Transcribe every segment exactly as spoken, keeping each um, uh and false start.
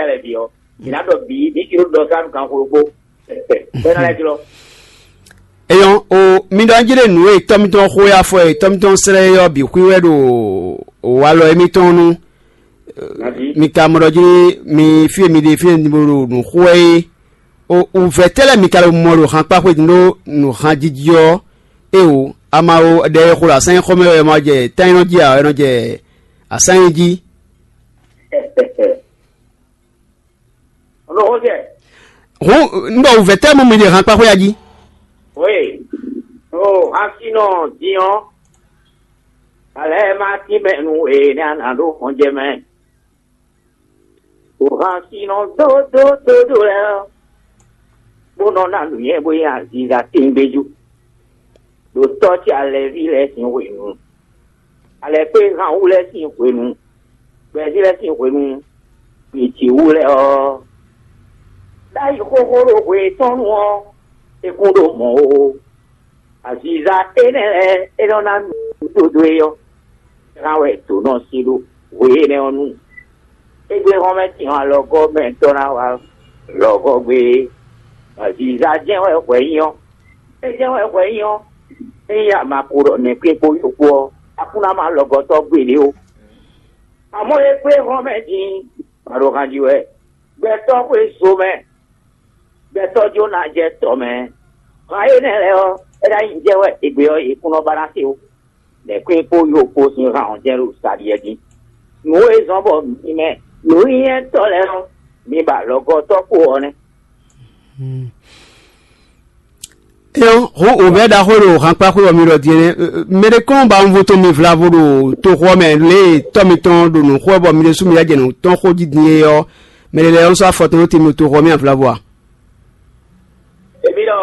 lɛ́ɛ bǐ ɔ́, mǐ ná ɖɔ bǐ, mǐ sixú ɖɔ sá nú ganxixo ɖokpó, bɔ é ná lɛ́ jlɔ́. Eyɔn o, mi ɖɔ njí ɖe nǔ e tɔ́ mitɔn xo e afɔ e tɔ́ mitɔn slɛ́ é ɔ́ bǐ xwí wɛ ɖo walɔ émítɔn nu. Mi ka mɔ ɖɔ jí mi fí e mi ɖe fí e mi ɖo nǔ xo wɛ é. O wǔvɛ́ tɛ́ lɛ́ɛ mi ka ɖo mɔ ɖo hankpáxwé din ɖó nǔhanjiji ɔ́? Éeǒ, ama o ɖɛ e xo ɖo asán nyíxɔ mɛ wɛ ma jɛ tánnyinɔ jí ǎ, wɛ nɔ jɛ asán nyi jí. Hǔn un ɖɔ wǔvɛ́ tɛ́ mɔ mi ɖe hankpáxwé a jí? Wéè, o hasinɔ din ɔ́, alɛ ma tínmɛ nú e nɛ́ a nǎ ɖó hɔnjɛ mɛ. O hasinɔ dódódódó lɛ́ɛ ɔ́, bó nɔ ná nǔnywɛ́ bó nyi aziza tɛngbéjú, ɖo tɔ́ ce alɛví lɛ́ɛ sín hwenu, alɛkpéhanwú lɛ́ɛ sín hwenu, gbɛ̌ví lɛ́ɛ sín hwenu, gbějǐwú lɛ́ɛ ɔ́, ɖ'ayǐ xóxó ɖo hwe tɔn nu ɔ́, é kún ɖo mɔ̌ ó. Aziza énɛ́ lɛ́ɛ é nɔ ná nǔ dó é ɔ́, é hán wɛ dǒ nɔ sin ɖó hwe énɛ́ ɔ́ nu. Égbé hɔn mɛ tɔn alɔgɔ́ mɛ tɔn ná wá lɔgɔ́ gbé. Aziza jɛ́n wɛ hwɛ nyí ɔ́, é jɛ́n wɛ hwɛ nyí ɔ́, ényí a ma ko ɖɔ nɛ̌kpín kpó yó kpó ɔ́, a kún ná má lɔgɔ́tɔ́ gbeɖé ó. Amɔ̌ é kplé hɔn mɛ din, ma ɖo han ji wɛ. Gbɛtɔ́ xwé zo mɛ, gbɛtɔ́ jó ná jɛ tɔ mɛ. Han énɛ́ lɛ́ɛ ɔ́, é ná nyí jɛ wɛ égbé ɔ́, è kún nɔ ba ná se ó. Nɛ̌kún kpó yó kpó sín han ɔ́ jɛ́n ɖo sa ɖiɛ dín. Nǔ e zɔ́n bɔ mi mɛ nǔnywɛ́tɔ́ lɛ́ɛ ɔ́, mi ba lɔgɔ́tɔ́ kpo ɔ́ nɛ́. Éyɔ́, hǔn wǔvɛ́ ɖaxó e ɖo hankpáxwé ɔ́ mi ɖɔ din é nɛ́. Mɛɖé kɔn ba wunvo tɔn mi vlavo ɖo toxo ɔ́ mɛ, lě e tɔ́ mitɔn ɖo nǔ xo wɛ bɔ mi ɖésú mi lɛ́ jɛ nǔ tɔn xo jí din é ɔ́, mɛɖé lɛ́ɛ nɔ sɔ́ afɔ tɔn ɖó te mi ɖo toxo ɔ́ mɛ a vlavo a? Èmi ɖɔ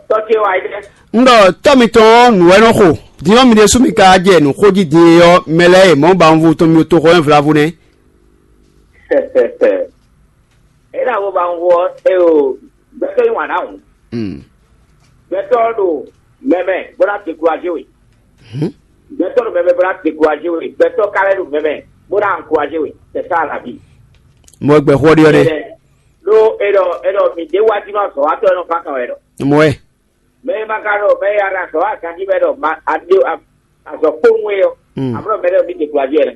tɔ́ ce wá yi dɛ. Un ɖɔ tɔ́ mitɔn ɔ́, nǔ wɛ nɔ xo. Din ɔ́, mi ɖésú mi ka jɛ nǔ xo jí din é ɔ́, mɛ lɛ́ɛ e mɔ̌ ba wunvo tɔn mi ɖo toxo ɔ́ mɛ vlavo nɛ́. É ná wo ba wunvo ɔ́, é o, gbɛtɔ́ yí wǎn ɖ'awǔ. Gbɛtɔ́ ɖo mɛmɛ bó ná dekuraje we. Gbɛtɔ́ ɖo mɛmɛ bó ná dekuraje we. Gbɛtɔ́ ka lɛ́ ɖo mɛmɛ bó ná ankuraje we. C'est ça la vie. Mɔ gbɛ xɔ ɖi ɔ́ ɖe. Ɖó é ɖɔ é ɖɔ mi ɖé wá jí nɔ azɔ̌watɔ́ e nɔ fán kan wɛ ɖɔ. Mɔ ɛ. Mɛ e ma ka ɖɔ mɛ e a ɖo azɔ̌ wa ganjí mɛ ɖɔ ma a ɖe azɔ̌ kpowun é ɔ́, a mlɔ mɛ ɖé mi dekuraje wɛ.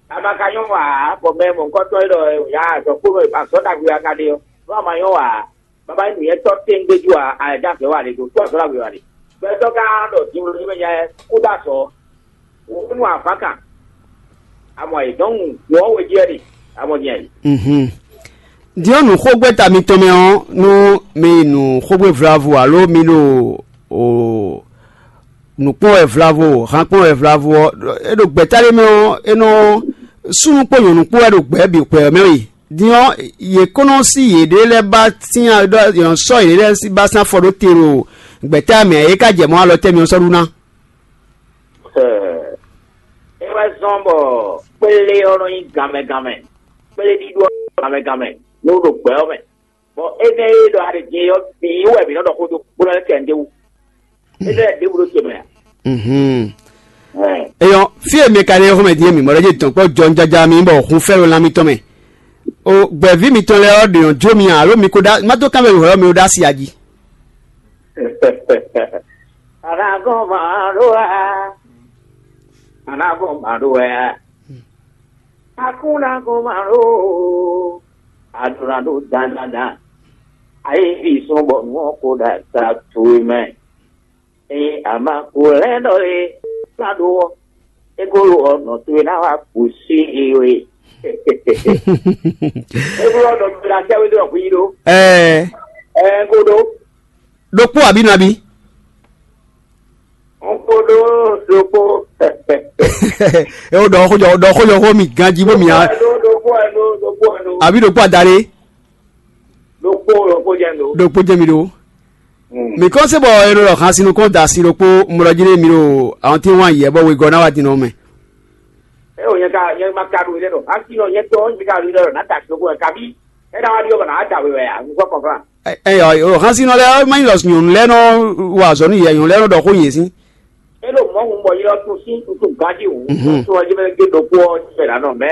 A ma ka nyɔ́ wa ǎ, bɔ mɛ mɔ̌hunkɔtɔn e ɖɔ ya azɔ̌ kpowun azɔ̌ ɖagbe a ka ɖe ɔ́, nú a ma nyɔ́ wa ǎ, baba nyí nǔnywɛ́tɔ́ tɛ́ngbéjú ǎ, a lɛ̌ dó azɔ̌ wa ɖe do, tó azɔ̌ ɖagbe wa ɖe. Gbɛtɔ́ ka ɖɔ din wló ní mɛ nya ɛ kú dó azɔ̌. Wǒ nú avǎkan. Amɔ ayǐ dɔn nu nǔ ɔ́ we jí wɛ ɖe. Amɔ din ayǐ. Mhm. Din ɔ́, nǔxogbɛ́ta mitɔn mɛ ɔ́, nú mi yi nǔ xógbé vlavo alo mi ɖo o nǔ kpɔ́n wɛ vlavo, han kpɔ́n wɛ vlavo ɔ́, é ɖo gbɛ̌ta ɖé mɛ ɔ́, é nɔ súnnu kpó nyɔ̌nu kpó wɛ ɖo gbɛ̌ bǐ gbɛ̌ mɛ we. Din ɔ́, yě kó nɔ sí yěɖée lɛ́ɛ ba sín ɖɔ yě nɔ sɔ́ yěɖée lɛ́ɛ ba sín afɔ ɖó te ɖo gbɛ̌ta mɛ, é ka jɛ mɔ̌ alɔ tɛ́ mi ɔ́ sɔ́ ɖu ná. É wɛ zɔ́n bɔ kplé ɔ́ nɔ nyí ganmɛ ganmɛ, kplé ɖíɖó ɔ́ ganmɛ ganmɛ, nú ɖo gbɛ ɔ́ mɛ. Bɔ énɛ́ e ɖɔ a ɖe din é ɔ́, bǐ wɛ mǐ nɔ ɖɔ xó dó, bó nɔ lɛ́ kɛ nǔɖé wú. Énɛ́ lɛ́ɛ ɖěbǔ ɖó te mɛ ǎ. Mhm. Ɛɛ. Eyɔn, fí e mi ka ɖe xɔmɛ din e mi mɔ ɖɔ jí dɔn kpɔ jɔ jaja mi bɔ hun fɛ ɖo lan mitɔn mɛ. O gbɛ̌ví mitɔn lɛ́ɛ ɔ́ ɖe yɔn jó mi alo mi ko ɖa má tó kánvɛ hwɛ ɔ́ mi ɖo ɖ'asi a jí. Anagɔn ma ɖo a. Anagɔn ma ɖo a. Akúnagɔn ma ɖo. Adona ɖo dandandan. Ayi vi sɔn bɔ nua ko ɖa ta towe mɛ. Eye ama ko lɛ ɖɔ e na ɖo ɔ, e ko ɖo ɔ nɔ towe na wa kusi e we. E ko ɖo ɔ nɔ towe na sɛ we ɖo ɔ yi ɖo. Ɛɛ. Ɛɛ ko ɖo. Ɖokpó àbí nabi? N ko ɖo ɖokpó. E wo ɖɔ xójɔ ɖɔ xójɔ xó mi ganji bó mi a. Ɖokpó ɛ ɖo ɖokpó ɛ ɖo. Àbí ɖokpó adaɖé? Ɖokpó ɖokpó jɛ ɖo. Ɖokpó jɛ mi ɖo. Mi kɔn se bɔ e ɖo ɖɔ xan sinu kɔn da si ɖokpó mlɔ jí ɖe mi ɖo àwọn tí wọn yɛ bɔ wegɔ na wa din nɔ mɛ. E o nyɛ ka nyɛ ma ka ɖo ilé ɖo asi nɔ nyɛ tɔ nyɛ ka ɖo ilé ɖo na ta si ɖokpó ɛ kabi e na wa ɖi ɔ bɔ na wa da wewɛ a n kɔ kɔnfla. Eyɔ o xan sinu lɛ ma nyi lɔ nyɔnu lɛ nɔ wa azɔ nu yɛ nyɔnu lɛ nɔ ɖɔ xó yɛ si. E ɖo mɔ hun bɔ yi lɔ tun si tun tun gaji wu tun ɔji mɛ gbe ɖokpó ɔ ti fɛ la nɔ mɛ.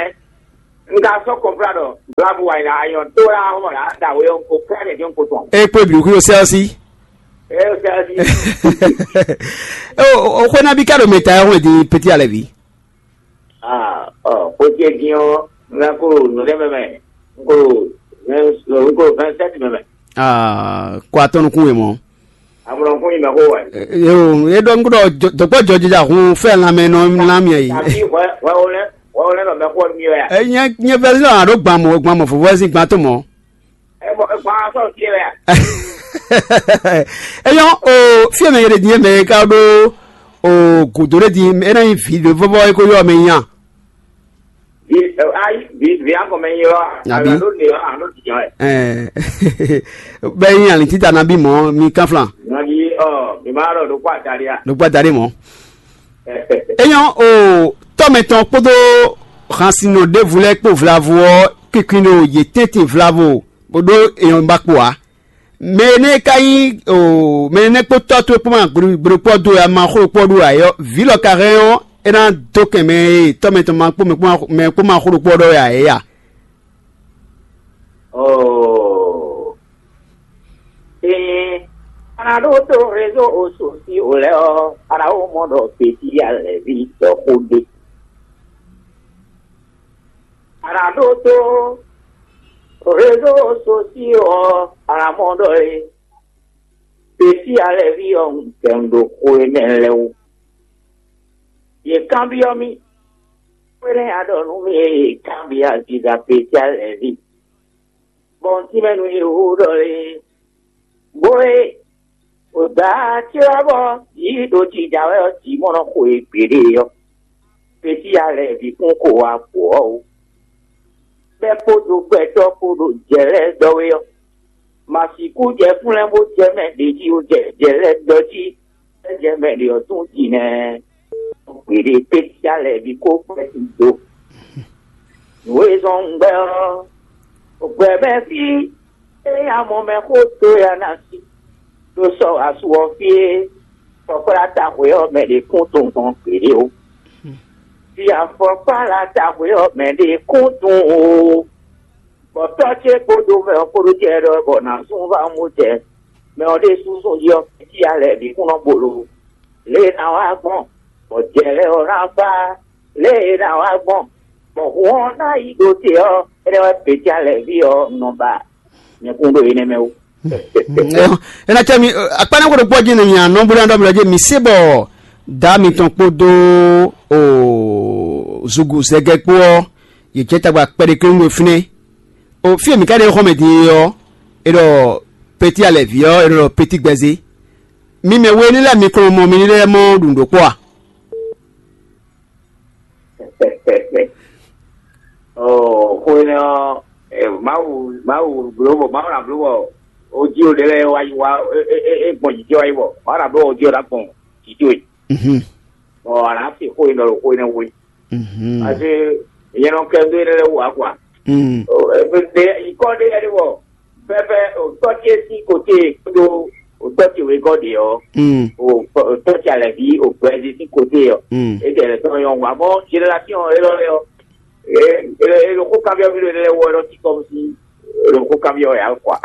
Un ka sɔ́ kɔnplá ɖɔ blabu wa yi la ayɔn tó la hɔn la da we ɔn ko kplá ɖe jɔn ko tɔn. E kpé blu kúrò sɛ́ ɔ́ sí. E o sɛ́ ɔ́ sí. O xwé ná bí ká ɖo mɛ ta ɛ hɔn di pétí alɛ ví. Ah, ɔ, xwé ce dín ɔ́, un ná kó nǔ ɖé mɛ mɛ, un kó, un kó vingt sept mɛ mɛ. Ah, kó atɔ́ nukún we mɔ. Amlɔ kún yi mɛ xó wɛ. Yo, e ɖɔ ŋkú ɖɔ dɔkpɔ jɔjija hun fɛ lanmɛ nɔ lamɛ yi. Tàbí wɛ wɛ wo lɛ wɛ wo lɛ nɔ mɛ xó mi wɛ. E nyɛ nyɛ vɛzi lɔ a ɖo gban mɔ gban mɔ fofo si gban to mɔ. E bɔ e gban sɔ fi wɛ. Eyɔn o fie mɛ yɛrɛ diɲɛ mɛ ka ɖo o godo ɖe di e na nyi vi ɖe vɔvɔ e ko yɔ mɛ nya. Ayi, vi akɔmɛ nyi lɔ. Abi. Alo ɖe ɔ alo tijɔ ɛ. Ɛɛ bɛ nyi alin tita na bi mɔ mi kanflan. Nɔdi ɔ mi ma lɔ ɖo kó atali a. Ɖo kó atali mɔ. Eyɔn o tɔmɛ tɔn kpódó hansinɔ ɖěvu lɛ́ɛ kpó vlavo ɔ́ kikli ɖo yě tɛ́ntin vlavo bó ɖó eyɔn ba kpo ǎ. Mɛ énɛ́ ka nyí o mɛ énɛ́ kpó tɔ́ towe kpó ma gblokpɔ́ dó wɛ a ma xó kpɔ́ ɖó ǎ é ɔ́, vǐ lɔ ka hɛn ɔ́, é ná dó kɛn mɛ e tɔ́ mɛ tɔn ma kpó mɛ kpó ma xó ɖokpó ɔ́ ɖɔ wɛ ǎ é a? Oh. Ée a nǎ ɖó tó réseau sociaux lɛ́ɛ ɔ́, a nǎ ko mɔ ɖɔ Bětíya lɛ̌ví ɖɔ xó ɖé. A nǎ ɖó tó réseau sociaux ɔ́, a nǎ mɔ ɖɔ é. Bětíya lɛ́ví ɔ́, un kɛ un ɖo xó énɛ́ lɛ́ɛ wú. Yě kanbyɔ́ mì, xwénɛ́ a ɖɔ nú mì e yě kanbyɔ́ aziza Bětíya lɛ́ví. Bɔ un tínmɛ nú yě hú ɖɔ é, bó e wěgbá ce wá bɔ yǐ ɖo jija wɛ ɔ́, jǐ mɔ nɔ xo e gbeɖé ɔ́, Bětíya lɛ́ví kún xo wá gbǒ ɔ́ ó. Bɛ́ kpódó gbɛtɔ́ kpó ɖo jɛ lɛ́ɛ ɖɔ wé ɔ́, ma sixú jɛ kúnlɛ́ bó jɛ mɛ ɖě jí ó jɛ jɛ lɛ́ɛ ɖɔ jí, é jɛ mɛ ɖě ɔ́ tún jǐnɛ. Gbeɖé Bětíya lɛ́ví kó gbɛ́ sin dó. Nǔ e zɔ́n un gbɛ́ ɔ́, gbɛ̌ mɛ fí é nyí amɔ mɛ xó dó ya ná sí, ɖó sɔ́ asú ɔ́ fí é, fɔkplá ta hwě ɔ́ mɛ ɖě kún tunwun gběɖé ó. Fí afɔkpá la ta hwě ɔ́ mɛ ɖě kún tunwun ó. Bɔ tɔ́ ce kpódó mɛ ɔ́ kpódó jɛ ɖɔ bɔ nǎ sún vá mú jɛ mɛ ɔ́ ɖésú sún jí ɔ́, fí alɛ bǐ kún nɔ bolo. Lě e ná wá gbɔn, bɔ jɛ lɛ́ɛ ɔ́ ná fá, lě e ná wá gbɔn, bɔ hǔn ɔ́ ná yi ɖo te ɔ́, énɛ́ wɛ Bětíya lɛ̌ví ɔ́ nɔ ba nyɛkún ɖo énɛ́ mɛ ó. É ná cɛ mi akpánɛ́ xó ɖokpó jí nɔ nya nɔ bó ná ɖɔ mi lɔ jí mi se bɔ dǎ mitɔn kpódó o zugu zɛgɛ kpó ɔ́, yě jɛ tagba kpɛɖé kléwún ɖo fínɛ́. O fí e mǐ ka ɖe xɔmɛ din é ɔ́, è ɖɔ Peti Alɛ̌ví ɔ́, è nɔ ɖɔ Peti Gbɛzé. Mi mɛ we ní lɛ́ɛ mi kɔn mɔ mi ní lɛ́ɛ mɔ ɖu nǔ ɖokpó a? Ɔ, xó énɛ́ ɔ́, ɛ, Mawu, Mawu bló bɔ Mawu ná bló bɔ o jí o ɖe lɛ́ɛ wá yi wá é é é gbɔn jǐjɛ wá yi bɔ Mawu ná bló bɔ o jí o ná gbɔn jǐjɛ we. Mhm. Bɔ a nǎ se xó e nɔ ɖo xó énɛ́ wú é. Mhm. Parce que nyɛ nɔ kɛ dó énɛ́ lɛ́ɛ wú ǎ kwa. Mm. Ɔ, ɛ, ɛ, nyǐkɔ ɖé lɛ́ɛ ɖé bɔ pɛpɛ o tɔ́ ce sín kote kpódó o tɔ́ ce wegɔ́ ɖě ɔ́, Mm. o o tɔ́ ce alɛ̌ví o gbɛzí sín kote ɔ́, Mm. é jɛ lɛ tɔn nyɔ wǎ mɔ génération élɔ́ lɛ́ɛ ɔ́, é é é ɖo xó kanbyɔ́ mì ɖo énɛ́ lɛ́ɛ wú ɔ́, é nɔ cí kɔ mì sín é ɖo xó kanbyɔ́ wɛ ǎ kwa.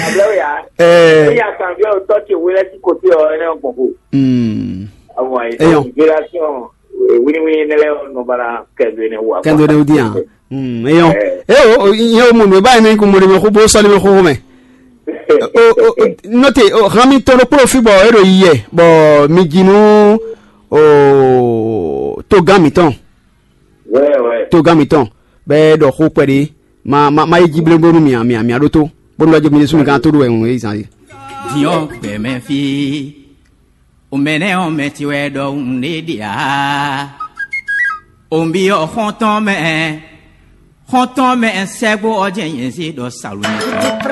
Ablɛ́ wɛ ǎ. Ɛ. Ényí a kanbyɔ́ o tɔ́ ce wé lɛ́ɛ sín kote ɔ́, énɛ́ ɔ́ gbɔn xo. Mm. Awɔ ayi Eyɔn. Génération wíníwíní énɛ́ lɛ́ɛ ɔ́ nɔ ba ná kɛ dó énɛ́ wú ǎ kwa. Kɛ dó énɛ́ wú dín ǎ. Mm, eyɔn. Ɛ. E o, o, nyɛ o mɔ nǔ e ba nyɛ ní kún mɔ ɖe mɛ xó bó sɔ́ ɖe mɛ xóxó mɛ. O, o, o, nɔte, o, han mi tɔn ɖokpó ɖo fí bɔ é ɖo yiyɛ, bɔ mi ji nú, o, togán mǐtɔn. Wɛ, wɛ. Togán mǐtɔn, bɔ é ɖɔ xó kpɛɖé, ma, ma, ma yi jí bléwún bónú mì, mì, mì ɖótó, bónú lɔ jɛ mi ɖésú mi gán tó ɖo wɛ ŋun é zan é. Diɔ gbɛmɛ fí. O mɛ nɛ ɔ mɛ ti wɛ ɖɔ un ɖe ɖe a. O bi ɔ xɔntɔn mɛ, xɔntɔn mɛ sɛgbo ɔ jɛ nyɛ si ɖɔ salu.